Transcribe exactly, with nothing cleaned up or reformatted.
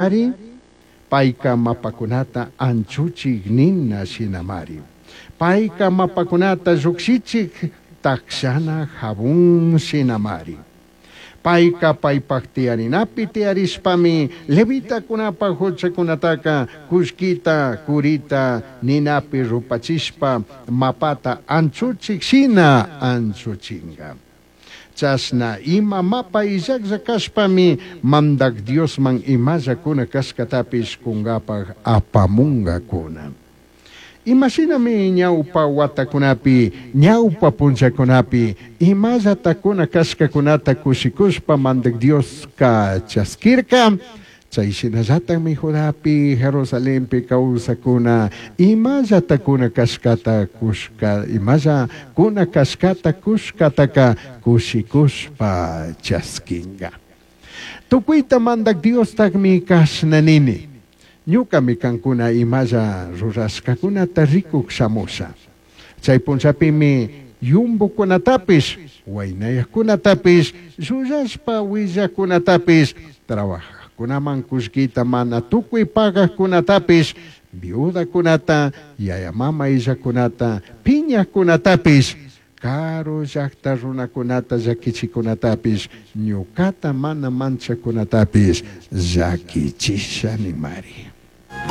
Ari, paica mapacunata anchuchij nina shinamari. Paica mapacunata llujshichij tajshana jabón shinamari. Paica paipaj tiyarinapi tiyarishpami levitacunapaj juchacunataca cullquita, curita ninapi rupachishpa mapata anchuchij shina anchuchinga. Chashna ima mapa illajlla cashpami Mandaj Diosman imalla cuna cashcatapish cungapaj apamungacuna. Ima shinami ñaupa huatacunapi, ñaupa punllacunapi imallata cuna cashcacunata cushicushpa Mandaj Diosca chasquirca, chai shinallatajmi Judapi, Jerusalenpi causajcuna imallata cuna cashcata cushca, imalla cuna cashcata cushcataca cushicushpa chasquinga. Tucuita Mandaj Diostajmi cashna nini: Ñucami cancuna imalla rurashcacunata ricuj shamusha. Chai punllapimi yumbucunatapish, huainayajcunatapish, llullashpa huillajcunatapish, trabajajcunaman cullquita mana tucui pagajcunatapish, viudacunata, yaya mama illajcunata, piñajcunatapish, caru llajta runacunata llaquichijcunatapish, ñucata mana manchajcunatapish llaquichisha nimari.